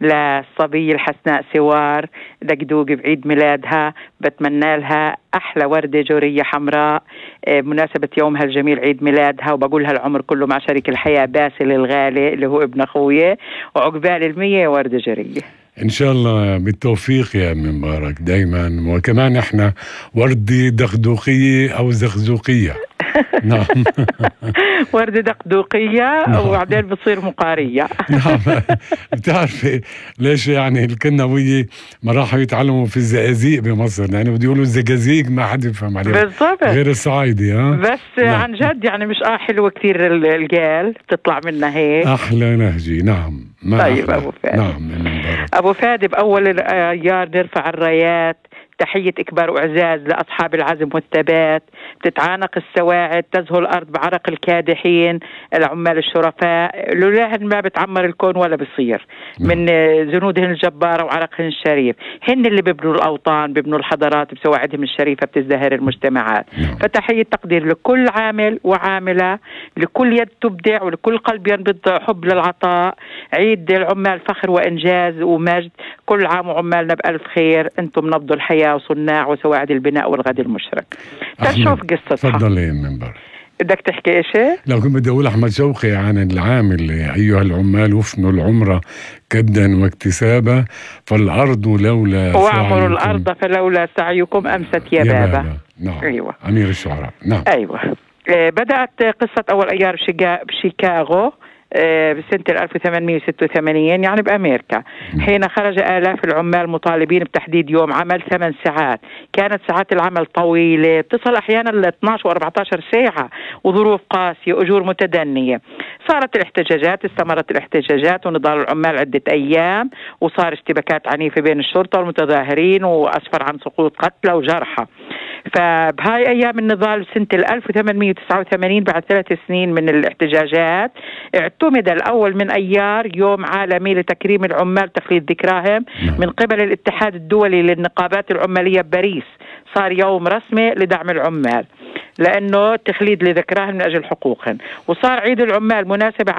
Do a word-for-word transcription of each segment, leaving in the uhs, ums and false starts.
للصبية الحسناء سوار دقدوق بعيد ميلادها، بتمنى لها أحلى وردة جورية حمراء بمناسبة يومها الجميل عيد ميلادها، وبقولها العمر كله مع شريك الحياة باسل الغالي اللي هو ابن أخويا، وعقبال المية وردة جورية إن شاء الله بالتوفيق يا أم مبارك دايما. وكمان إحنا وردة دقدوقية أو زغزوقية. نعم. وردة دقدوقية وبعدين بتصير مقارية. نعم. بتعرفي ليش يعني الكنوية ما راحوا يتعلموا في الزقازيق بمصر، يعني بدي يقولوا الزقازيق ما حد يفهم عليها بالضبط غير الصعايدي. ها بس نعم. عن جد يعني مش اه حلوة كتير القال بتطلع منها هيك أحلى نهجي. نعم. ما طيب أحلى. أبو فادي. نعم أبو فادي بأول الأيار نرفع الرايات، تحية إكبار وإعزاز لأصحاب العزم والثبات، تتعانق السواعد، تزهو الأرض بعرق الكادحين العمال الشرفاء، لولاهن ما بتعمر الكون ولا بصير من جنودهن الجبارة وعرقهن الشريف. هن اللي بيبنوا الأوطان، بيبنوا الحضارات، بسواعدهم الشريفة بتزدهر المجتمعات. فتحية تقدير لكل عامل وعاملة، لكل يد تبدع ولكل قلب ينبض حب للعطاء. عيد العمال فخر وإنجاز ومجد، كل عام وعمالنا بألف خير، أنتم نبض الحياة وصناع وسواعد البناء والغد المشرق. تشوف قصتها. تفضلي يا منبر. بدك تحكي إيش؟ لو كنت بدي أقول أحمد شوقي عن العامل: أيها العمال وفنوا العمرة كدا واكتسابا، فالأرض لولا وأعمروا الأرض فلولا سعيكم أمست يا, يا بابا. بابا. نعم. أيوة. أمير الشعراء. نعم. أيوة. بدأت قصة أول أيار بشيكاغو بسنة ألف وثمانمئة وستة وثمانين يعني بأمريكا، حين خرج آلاف العمال مطالبين بتحديد يوم عمل ثمان ساعات. كانت ساعات العمل طويلة تصل أحيانا ل اثنعش وأربعة عشر ساعة، وظروف قاسية، أجور متدنية. صارت الاحتجاجات استمرت الاحتجاجات ونضال العمال عدة أيام، وصار اشتباكات عنيفة بين الشرطة والمتظاهرين، وأسفر عن سقوط قتلى وجرحى. فبهاي أيام النضال سنة ألف وثمانمئة وتسعة وثمانين بعد ثلاث سنين من الاحتجاجات اعتمد الأول من أيار يوم عالمي لتكريم العمال تخليد ذكراهم من قبل الاتحاد الدولي للنقابات العمالية بباريس. صار يوم رسمي لدعم العمال لأنه تخليد لذكراهم من أجل حقوقهم. وصار عيد العمال مناسبة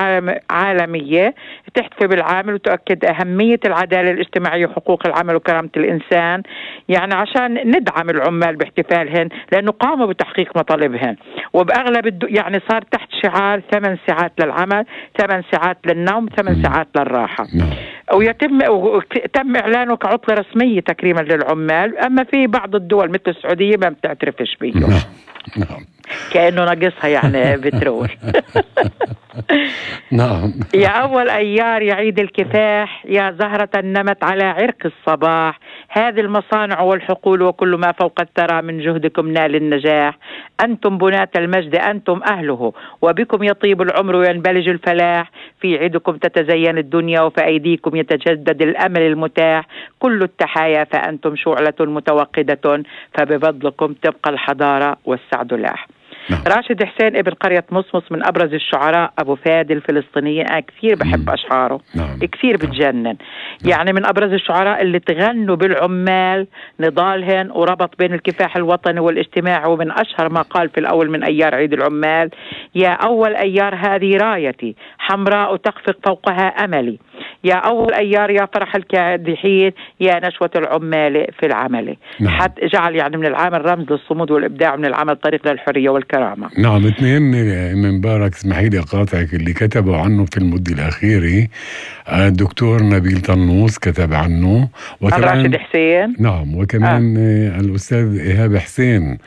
عالمية تحتفي بالعامل وتؤكد أهمية العدالة الاجتماعية وحقوق العمل وكرامة الإنسان، يعني عشان ندعم العمال باحتفالهن لأنه قاموا بتحقيق مطالبهن. وبأغلب الدو يعني صار تحت شعار ثمان ساعات للعمل، ثمان ساعات للنوم، ثمان ساعات للراحة. ويتم تم إعلانه كعطلة رسمية تكريما للعمال. أما في بعض الدول مثل السعودية ما بتعترفش فيه. نعم. كأنه ناقصها يعني بترول. نعم. يا أول أيار يا عيد الكفاح، يا زهرة نمت على عرق الصباح، هذه المصانع والحقول وكل ما فوق الثرى من جهدكم نال النجاح. أنتم بناة المجد، أنتم أهله، وبكم يطيب العمر وينبلج الفلاح. في عيدكم تتزين الدنيا وفي أيديكم يتجدد الأمل المتاح. كل التحايا فأنتم شعلة متوقدة، فبفضلكم تبقى الحضارة والسعد لاح. نعم. راشد حسين ابن قرية مصمص من أبرز الشعراء أبو فادي الفلسطينيين، أنا كثير بحب أشعاره. نعم. كثير بتجنن. نعم. يعني من أبرز الشعراء اللي تغنوا بالعمال نضالهن وربط بين الكفاح الوطني والاجتماعي. ومن أشهر ما قال في الأول من أيار عيد العمال: يا أول أيار هذه رايتي حمراء تخفق فوقها أملي، يا أول أيار يا فرح الكادحين، يا نشوة العمال في العمل. نعم. حتى جعل يعني من العمل رمز للصمود والإبداع، من العمل طريق للحرية والكرامة. نعم. اثنين من مبارك اسمحي لي أقاطعك اللي كتبوا عنه في المدة الأخيرة. الدكتور نبيل طنوس كتب عنه، وكمان راشد حسين. نعم. وكمان آه. الأستاذ إيهاب حسين.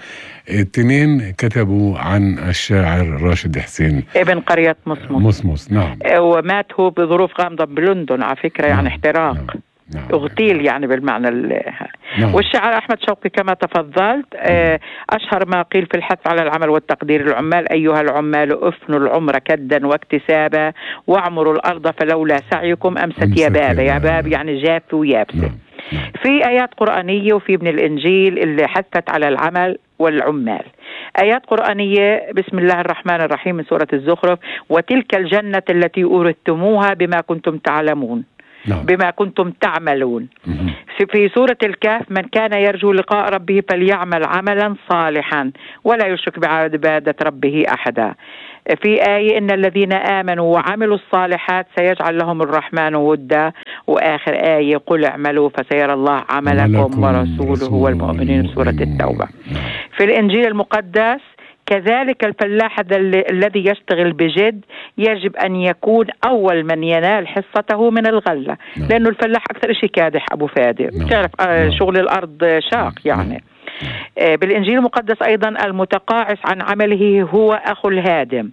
الاثنين كتبوا عن الشاعر راشد حسين ابن قرية مصمص. مصمص. نعم. ومات هو بظروف غامضة بلندن على فكرة. نعم. يعني احتراق. نعم. نعم. اغتيل يعني بالمعنى. نعم. والشاعر أحمد شوقي كما تفضلت أشهر ما قيل في الحث على العمل والتقدير العمال: أيها العمال أفنوا العمر كدا واكتسابا، واعمروا الأرض فلولا سعيكم أمست, أمست يا بابا. يا باب يعني جاف ويابسة. نعم. نعم. في آيات قرآنية وفي من الإنجيل اللي حثت على العمل والعمال. آيات قرآنية: بسم الله الرحمن الرحيم من سورة الزخرف: وتلك الجنة التي أورثتموها بما كنتم تعلمون. نعم. بما كنتم تعملون. مم. في سورة الكهف: من كان يرجو لقاء ربه فليعمل عملا صالحا ولا يشرك بعبادة ربه أحدا. في آية: إن الذين آمنوا وعملوا الصالحات سيجعل لهم الرحمن ودا. وآخر آية قل اعملوا فسيرى الله عملكم ورسوله والمؤمنين، سورة التوبة. في الإنجيل المقدس كذلك الفلاح الذي يشتغل بجد يجب أن يكون أول من ينال حصته من الغلة، لأنه الفلاح أكثر شيء كادح أبو فادي، بتعرف شغل الأرض شاق يعني. بالإنجيل المقدس أيضا المتقاعس عن عمله هو أخو الهادم.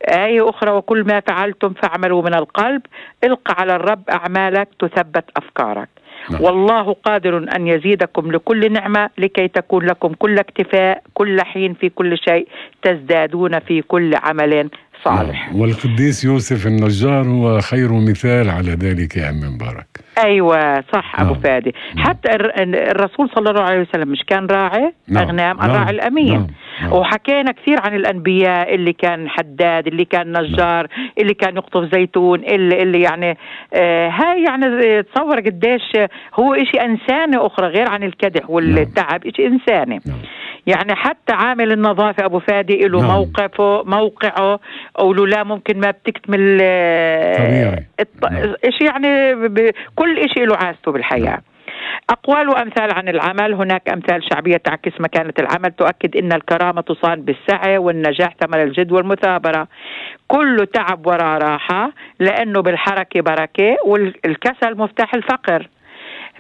آية أخرى وكل ما فعلتم فاعملوا من القلب، الق على الرب أعمالك تثبت أفكارك. نعم. والله قادر أن يزيدكم لكل نعمة لكي تكون لكم كل اكتفاء كل حين في كل شيء تزدادون في كل عمل صالح. نعم. والقديس يوسف النجار هو خير مثال على ذلك يا عم مبارك. أيوة صح. نعم. أبو فادي. نعم. حتى الرسول صلى الله عليه وسلم مش كان راعي؟ نعم. أغنام. نعم. الراعي الأمين. نعم. نعم. وحكينا كثير عن الأنبياء اللي كان حداد، اللي كان نجار، نعم. اللي كان يقطف زيتون، اللي, اللي يعني آه هاي يعني تصور قديش هو إشي إنساني أخرى غير عن الكدح والتعب. نعم. إشي إنساني. نعم. يعني حتى عامل النظافة أبو فادي له نعم. موقفه موقعه، أو لا ممكن ما بتكتمل طبيعي. الط... نعم. إشي يعني ب... كل إشي له عازته بالحياة. نعم. أقوال وأمثال عن العمل. هناك أمثال شعبية تعكس مكانة العمل تؤكد أن الكرامة تصان بالسعي، والنجاح ثمر الجد والمثابرة. كل تعب وراء راحة، لأنه بالحركة بركة، والكسل مفتاح الفقر.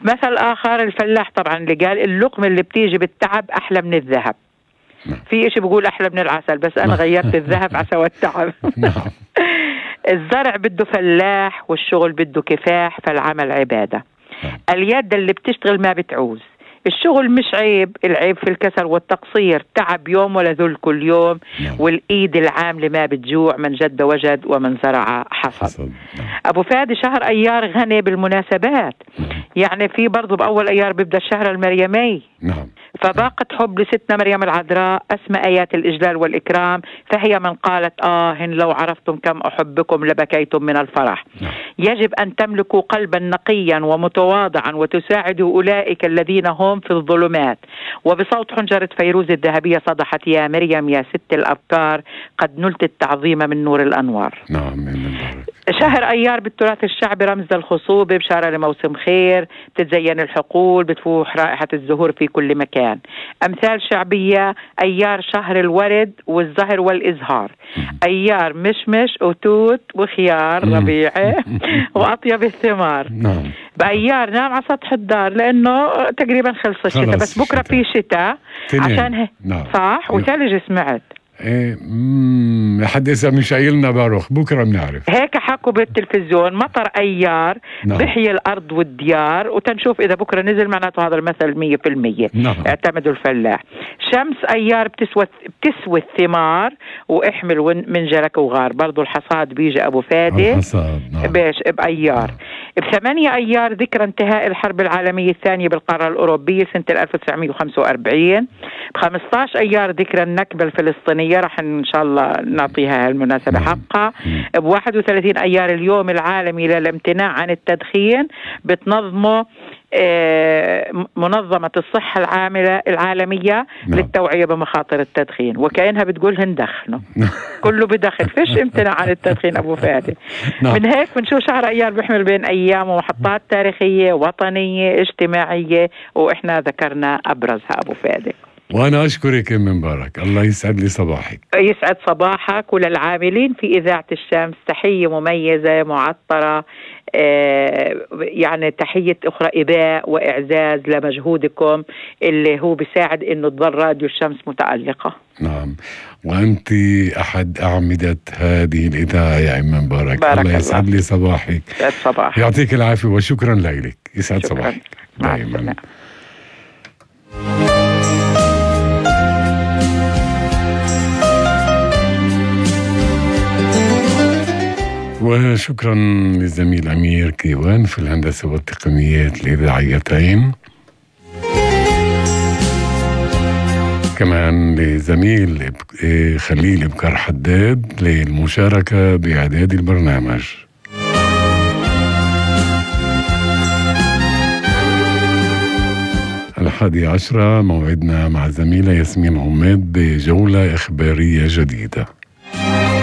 مثل آخر الفلاح طبعا اللي قال اللقمة اللي بتيجي بالتعب أحلى من الذهب. في إشي بقول أحلى من العسل، بس أنا غيرت الذهب عسى والتعب. الزرع بده فلاح، والشغل بده كفاح، فالعمل عبادة. اليد اللي بتشتغل ما بتعوز. الشغل مش عيب، العيب في الكسل والتقصير. تعب يوم ولا ذل كل يوم. نعم. والإيد العاملة ما بتجوع، من جد وجد ومن زرع حصد. نعم. أبو فادي شهر أيار غني بالمناسبات. نعم. يعني في برضو بأول أيار بيبدأ الشهر المريمي. نعم. فباقت حب لستنا مريم العذراء أسمى آيات الإجلال والإكرام، فهي من قالت آه لو عرفتم كم أحبكم لبكيتم من الفرح. نعم. يجب أن تملكوا قلبا نقيا ومتواضعا وتساعدوا أولئك الذين هم في الظلمات. وبصوت حنجرة فيروز الذهبية صدحت يا مريم يا ست الأبكار، قد نلت التعظيم من نور الأنوار. نعم. شهر أيار بالتراث الشعبي رمز الخصوبة، بشارة لموسم خير، بتتزين الحقول، بتفوح رائحة الزهور في كل مكان. أمثال شعبية: أيار شهر الورد والزهر والإزهار، أيار مشمش وتوت وخيار ربيعي وأطيب الثمار. نعم. بأيار نام على سطح الدار لأنه تقريبا خلص الشتاء، بس بكرة في شتاء عشان هيك. نعم. صح. وثلج سمعت. ايه امم حد اسا مش قايلنا باروخ، بكره بنعرف. هيك حكوا بالتلفزيون. مطر ايار. نعم. بحيي الارض والديار، وتنشوف اذا بكره نزل معناته هذا المثل مية بالمية. نعم. اعتمدوا الفلاح. شمس ايار بتسوى بتسوي الثمار، واحمل منجلك وغار. برضو الحصاد بيجي ابو فادي. الحصاد. نعم. بايش بايار. نعم. بثمانية ايار ذكرى انتهاء الحرب العالميه الثانيه بالقاره الاوروبيه سنه ألف وتسعمية وخمسة وأربعين. بخمسطعش ايار ذكرى النكبه الفلسطينيه، راح ان شاء الله نعطيها المناسبة حقها. بواحد وثلاثين ايار اليوم العالمي للامتناع عن التدخين، بتنظمه منظمة الصحة العاملة العالمية. نعم. للتوعية بمخاطر التدخين، وكأنها بتقول هندخنه. كله بدخن، فيش امتناع عن التدخين أبو فادي. نعم. من هيك بنشوف شهر أيار بيحمل بين أيام ومحطات تاريخية وطنية اجتماعية، وإحنا ذكرنا أبرزها أبو فادي. وأنا أشكرك يا مبارك، الله يسعد لي صباحك. يسعد صباحك وللعاملين في إذاعة الشمس تحية مميزة معطرة، آه يعني تحية أخرى إباء وإعزاز لمجهودكم اللي هو بيساعد إنه تظل راديو الشمس متألقة. نعم. وأنت أحد أعمدة هذه الإذاعة يا عم مبارك. الله يسعد لي صباحك. يسعد صباحك. يعطيك العافية وشكرا لك. يسعد شكرا. صباحك دائما. وشكرا للزميل أمير كيوان في الهندسة والتقنيات الإذاعيتين، كمان لزميل خليل بكر حداد للمشاركة بإعداد البرنامج. الحادي عشرة موعدنا مع زميلة ياسمين عماد بجولة إخبارية جديدة.